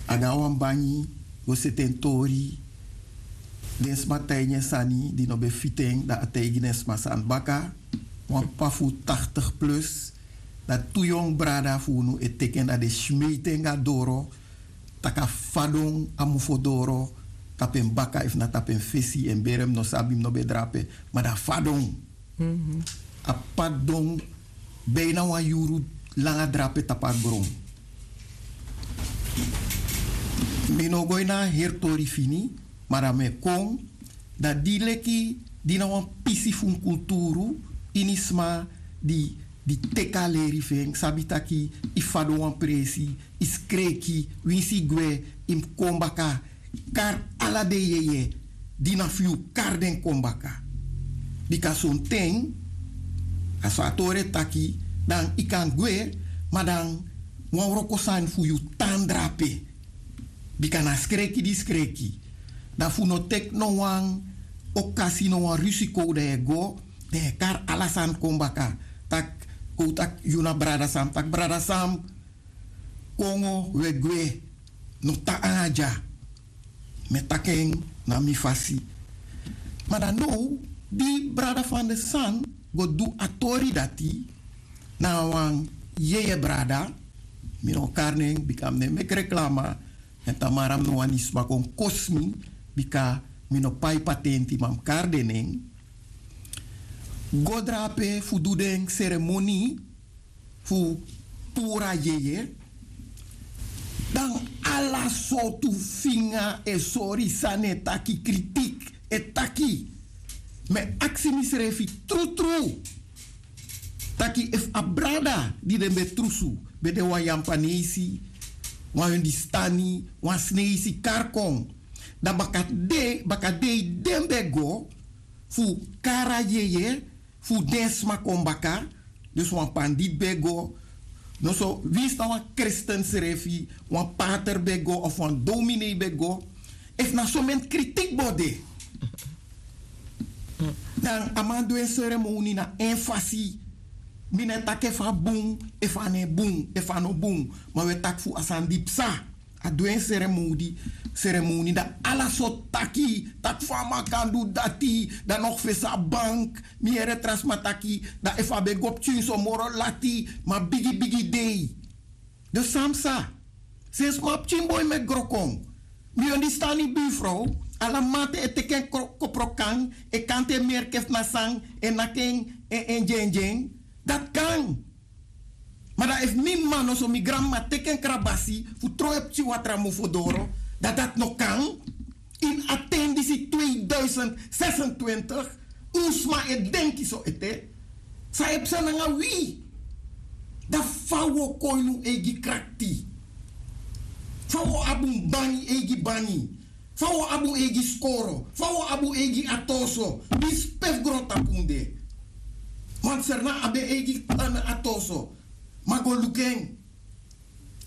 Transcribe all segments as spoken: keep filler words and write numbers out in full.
A go na wan bangi go seti en tori. Den sma taigi en sani di no ben fiti en, dan a taigi den sma sani baka. Wan p'pa fu taktigi plus. Dan tu yongu brada fu unu e teki en, dan den smeiti en go na doro. Tak' a fadon a mofo doro tapu en baka efu na tapu en fesi, en bere mi no sabi, mi no ben drape. Ma dan a fadon. A p'pa didon bina wan yuru langa drape tapu a gron. Mi no go ini a heri tori fini, ma dan mi e kon. Dan di leki di na wan pisi fu un kulturu, ini sma di di teki a leri fu en, sabi taki yu fadon wan presi, yu skreki, winsi yu gwe, yu mus kon baka, kari ala den yeye di na fu yu, kari den kon baka. Bika sonten a so a tori e taki, dan yu kan gwe, ma dan wan wroko sani fu yu tan drape. Bika na skreki di skreki. Dan fu no teki no wan okasi, no wan risiko, dan yu e go, dan yu e kari ala sani kon baka. Tak' kon un taki yu na brada Sam, tak' brada Sam, kongo, wi e gwe, no tan nanga dya. Mi e taki en na mi fasi. Ma dan now di brada Van de San go du a tori dati, na wan yeye brada, mi no o kari nen bika mi no e meki reklama, èn tamara mi no wani sma kon kosi mi, bika mi no pai patenti, ma mi kari den nen, go drape fu du den seremoni fu puru a yeye. Dan ala sortu finga e sori, sani e taki, kritik e taki. Mi e aksi misrefi trutru taki efu a brada di den ben trusu ben de wan Yampanesi, wan Hindustani, wan Sneisi, kari kon, dan bakadei, bakadei den ben go fu kari a yeye fu den sma kon baka. Dus wan panditi ben go, noso winsi na wan kristen srefi, wan pater ben go of wan dominee ben go, efu na someni kritik bo de. Dan a man du en seremoni na en fasi. Mi no e taki efu a bun, efu a no e bun, efu a no bun, ma wi e taki fu a sani di psa. A du en seremoni, seremoni, dan ala sortu taki, taki fa a man kan du dati, dan no fesi a bank. Mi yere tra sma taki dan efu a ben go pikin so moro lati, ma bigi bigi dei. Dus san psa? Sensi mi a pikin boi mi e gro kon, mi understand yu, bifrow. Ala mamanten e teki en koprokan, e kanti en merki efu na san, e naki en, en, en dyendyen. Dati kan. Ma dan efu mi mama, noso mi granmama, teki en krabasi fu tron en pikin watra mofo doro, dan dati no kan. Ini a ten disi, tweeduizend zesentwintig, un sma e denki so ete? San e psa nanga wi? Dan fa un o kon ini un eigi krakti? Fa un o abi un bangi, eigi bangi? Fa un o abi un eigi skoro? Fa un o abi un eigi ati oso? Winsi pe fu grontapu un de. Want Sranan abi en eigi, eh, ati oso. Ma go luku en.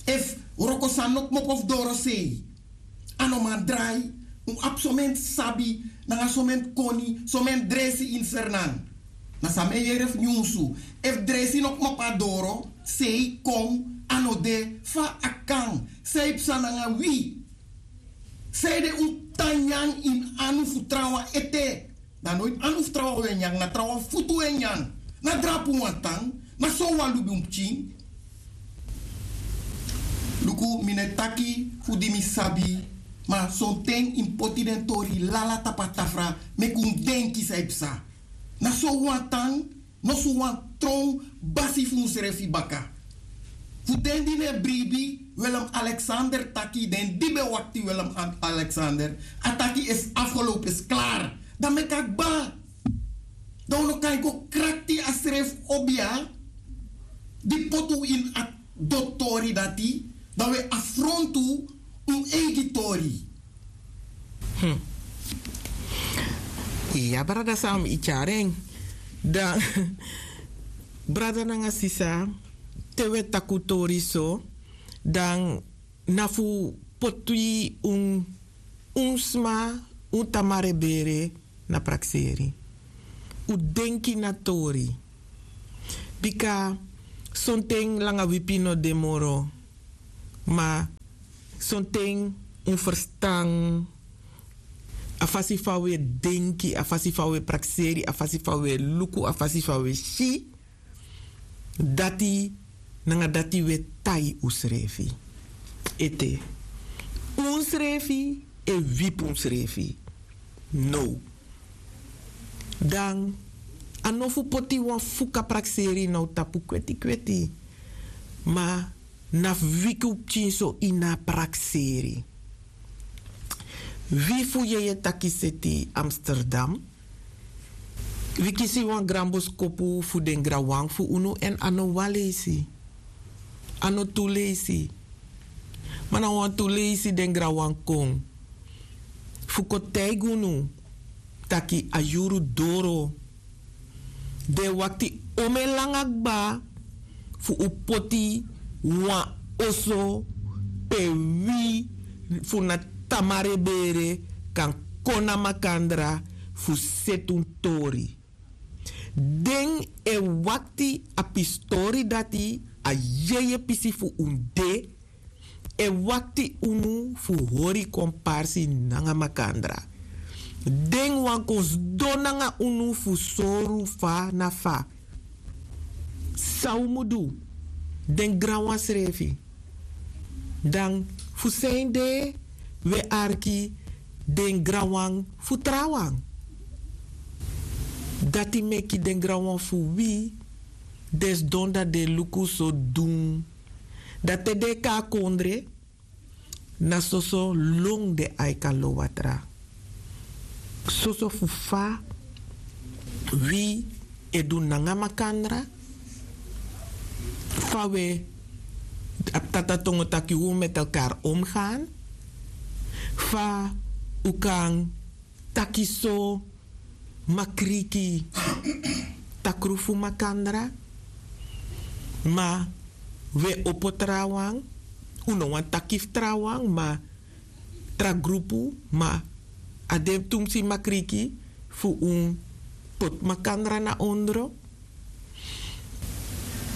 Efu wroko sani no kmopo fu doro sei, a no man drai. Un abi someni sabi nanga someni koni, someni dresi ini Sranan. Na san mi e yere fu nyunsu. Efu dresi no kmopo a doro sei kon, a no de, fa a kan? San e psa nanga wi? Sanede un tan nyan ini anu fu trawan ete? Dan noiti anu fu trawan un e nyan, na trawan futu un e nyan. Na drapu un wani tan? Na so un wani lubi un pikin? Luku, mi no e taki fu di mi sabi, ma sonten yu mus poti den tori lala tapu a tafra, meki un denki san e psa. Na so un wani tan? Noso un wani tron basi fu unsrefi baka. Fu den di no e bribi, Willem-Alexander taki, den di ben wakti Willem-Alexander, a taki: is afgelopen, is klaar. Dan meki a kba. Dan un no kan go krakti a srefi obia di poti un ini a dotori dati, dan un e afrontu un eigi tori. Hmm. Iya, brada Sam, yu tyari en. Dan, brada nanga sisa, te un e taki un tori so, dan na fu poti un, un sma, un tamara e bere na prakseri. Un denki na tori. Bika sonten langa wipi no de moro, ma Sonten un ferstan a fasi fa un e denki, a fasi fa un e prakseri, a fasi fa un e luku, a fasi fa un e si, dati nanga dati un e tai unsrefi. Ete, unsrefi e wipi unsrefi. No. Dan a no fu poti wan fuka prakseri na un tapu kweti kweti. Ma na fu wiki un pikin so ini a prakseri. Wi fu yeye taki seti Amsterdam, wi kisi wan granboskopu fu den granwan fu unu èn a no wan leisi. A no tu leisi. Ma na wantu leisi den granwan kon fu kon taigi unu taki a yuru doro. Den e wakti omen langa kba fu un poti wan oso pe wi fu na tamare bere kan kon na makandra fu seti un tori. Den e wakti a pistori dati a yeye pisi fu un de. E wakti unu fu hori komparsi nanga makandra. Den wan kon sidon nanga unu fu sori un fa na fa. San un mu du? Den granwan srefi. Dan fu san ede un e arki den granwan fu trawan? Dati meki den granwan fu wi den sidon dan den e luku so dun. Dan te den e kon na kondre, na soso lon den aiki a lowatra. Soso fu fa wi e du nanga makandra, fa wi e abi tata tongo taki un met elkar omgaan, fa un kan taki so makriki takru fu makandra. Ma wi e opo trawan, un no wani taki fu trawan ma tra grupu, ma a de tumsi makriki fu un poti makandra na ondro.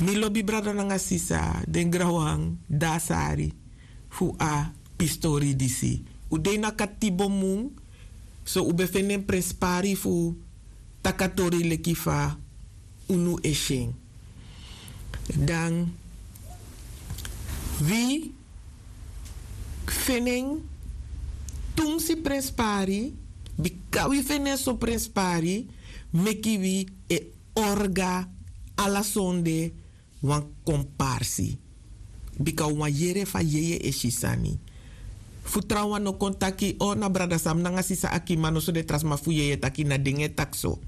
Mi lobi brada nanga sisa, den granwan dasari fu a pistori disi. Un de ini a katibo mun, so un ben feni en prenspari fu taki a tori leki fa unu e si en. Dan wi feni en tumsi prenspari, bika wi feni en so prenspari, meki wi e orga ala sonde wan komparsi. Bika un wani yere fa yeye e si sani. Fu trawan no kon taki o na brada Sam nanga sisa Aki, ma noso den tra sma fu yeye taki na den e taki so.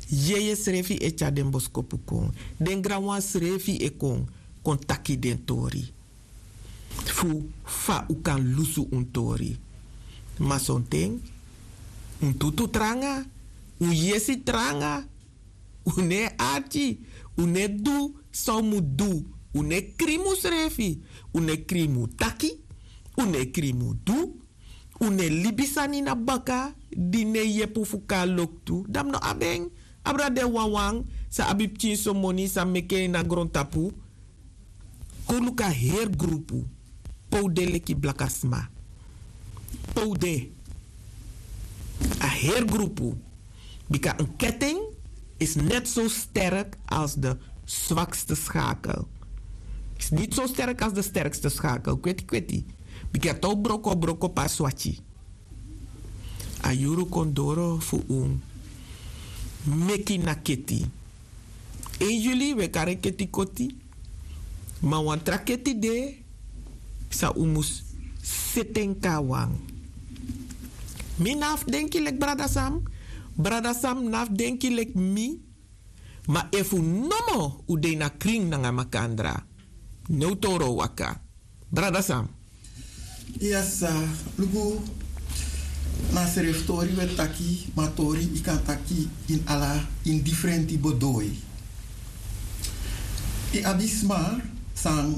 Yeye srefi e tyari den boskopu kon. Den granwan srefi e kon kon taki den tori fu fa un kan lusu un tori. Ma sonten un tutu tranga, un yesi tranga, un no e arki, un no e du san un mu du, un no e krimi unsrefi, un no e krimi un taki, un no e krimi un du, un no e libi sani na baka di no e yepi un fu kon na loktu. Dan mi no abi en. Abra den wawan san abi pikin so moni san meki en na grontapu. Kon luku a heri grupu pe un de leki blaka sma. Pe un de a heri grupu. Bika en ketting is net zo sterk als de zwakste schakel. Is niet zo sterk als de sterkste schakel. Kweti kweti. Bika tou broko broko pa swati. A yuru kon doro fu un meki na keti. Een juli we kari en keti koti. Ma wan tra keti de san un mus seti en kon na wan. Mi no abi fu denki leki brada Sam. Brada Sam no abi fu denki leki mi. Ma efu nomo un de ini a krin nanga makandra, ne un toro waka. Brada Sam. Yes, luku. Na srefi tori we taki, ma tori yu kan taki ini ala, ini difrenti bedoi. Yu abi sma san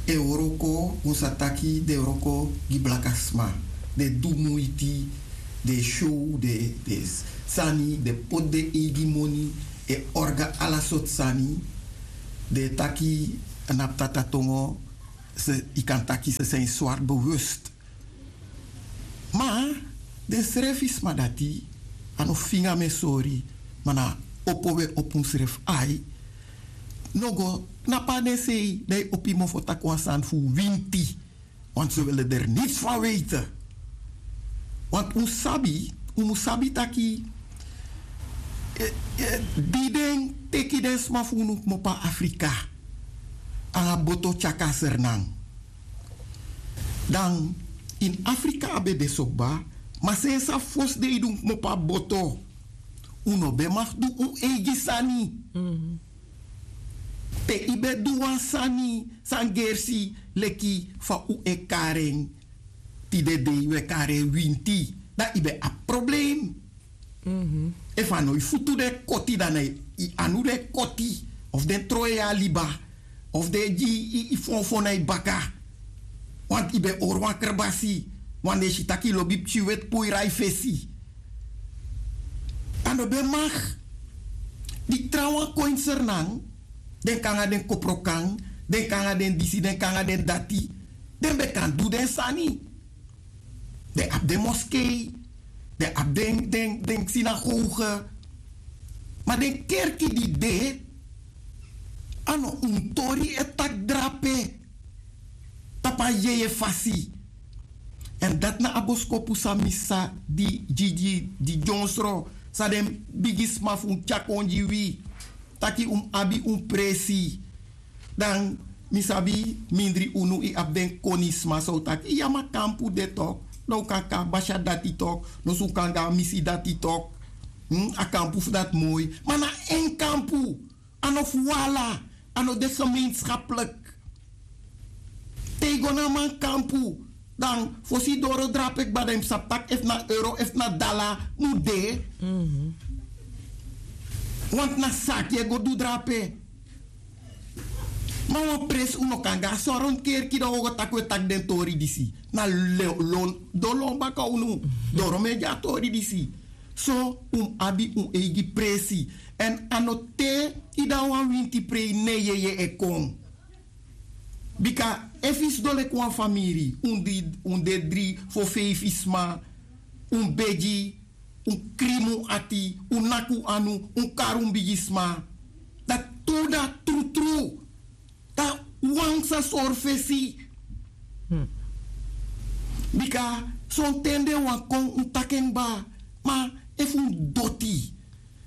e wroko, un sa taki den e wroko gi blaka sma. Den e du muiti, den e show den, den sani, den e poti den eigi moni, e orga ala sortu sani. Den e taki na ptata tongo, Yu kan taki se seni swart bewust. Ma den srefi sma dati a no finga mi e sori. Ma na opo un e opo unsrefi ai. No go knapu na den sei dan yu opo yu mofo taki wan sani fu winti. Want se wele der niti fu a weite. Want un sabi un mus sabi taki di den teki den sma fu unu kmopo na afrika nanga boto tyaki a sernan. Dan ini afrika a ben de so kba. Ma sensi a fosi dei di un kmopo na boto un no ben maki du un eigi sani. Pe yu ben du wan sani san gersi leki fa un e kari en. Tide dei un e kari en winti dan yu ben abi problem. Efu a no yu futu den koti dan na yu anu den koti of den tron yu a liba of den e gi yu fonfon na yu baka. Wantu yu ben hori wan krbasi wan den e si tak' yu lobi pikin weti puru yu na yu fesi. A no ben maki. Di trawan kon ini sernan den kon nanga den koprokan, den kon nanga den disi den kon nanga den dati. Den ben kan du den sani. Den abi den moskei, den abi den sinagoge. Ma den kerki di de a no un tori e taki drape tapu a yeye fasi. Èn dati na a boskopu san mi sa di gi gi di dyonsro san den bigisma fu un tyari kon gi wi. Taki un mus abi un presi. Dan mi sabi mindri unu yu abi den konisma san un taki yu a makampu de tok'. Dan un kan kon a basi a dati tok'. Noso un kan go a misi dati tok'. A kampu fu dati moi ma na en kampu. A no fu wi ala. A no de gemeenskaplik. Te yu go na a man kampu dan fosi yu doro drape kba dan yu mus sabi tak' efu na euro efu na dala mus de. Want na saki e go du drape. Ma wan presi un no kan go a soron kerki dan un o go taki un e taki den tori disi na lon don lon baka unu. Doro mi e gi a tori disi. So un mus abi un eigi presi. Èn a no te yu de na wan winti prei ne yeye e kon. Bika efu yu sidon leki wan famiri un de dri fo feifi sma, un begi, un krimi un ati, un naki un anu, un kari un bigisma. Dati tu dati trutru. Dan wan sa sori fesi. Bika sonten den wani kon un taki en kba. Ma efu un doti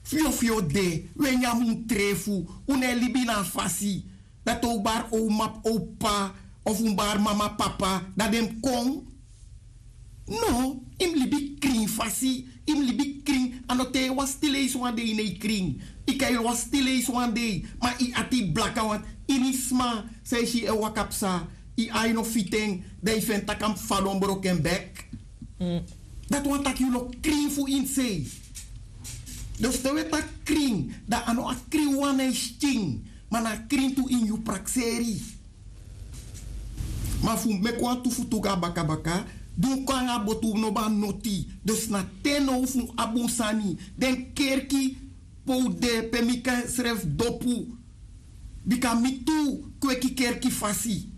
fyofyo de un e nyan un trefu, un no e libi na a fasi. Dan te un bari owma p'pa of un bari mama p'pa dan den mus kon. No, yu mus libi krin fasi. Yu mus libi krin. A no te yu wasi ti leisi wan dei ne yu krin. Yu kan yu wasi ti leisi wan dei ma yu ati blaka wantu ini sma san yu si yu e waka psa, yu ai no fiti en, dan yu feni tak' a mus fadon broko en bek. Dati wani tak' yu no krin fu ini sei. Dus te un e taki krin dan a no a krin wan na yu skin, ma na a krin tu ini yu prakseri. Ma fu meki wantu futu go na bakabaka, di un kon nanga a botu un no ben a noti. Dus na te now fu un abi un sani. Den kerki pe un de pe mi kan srefi dopu. Bika mi tu kweki kerki fasi.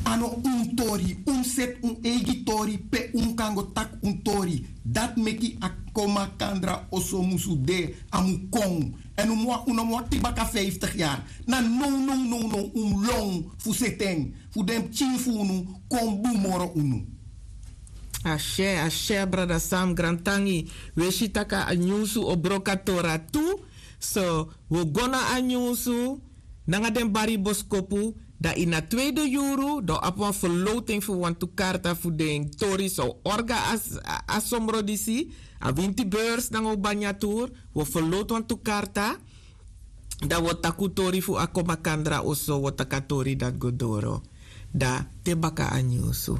A no un tori un mus seti un eigi tori pe un kan go taki un tori. Dati meki a kon makandra oso musu de. A mus kon. Èn un no mus wakti baka fiftig yari. Na nownow un mus lon fu seti en fu den pikin fu unu kon bun moro unu. Asye asye brada sam grantangi. Wi e si tak' a nyunsu o broko a tori a tu. So wi o go na a nyunsu nanga den bari boskopu. Dan ini a tweide yuru dan o abi wan ferlowten fu wantu karta fu den tori san o orga a somro disi, a winti beurs nanga o banya tur. Wi o ferlowtu wantu karta. Dan wi o taki un tori fu a kon makandra oso wi o taki a tori dati go doro. Dan te baka a nyunsu.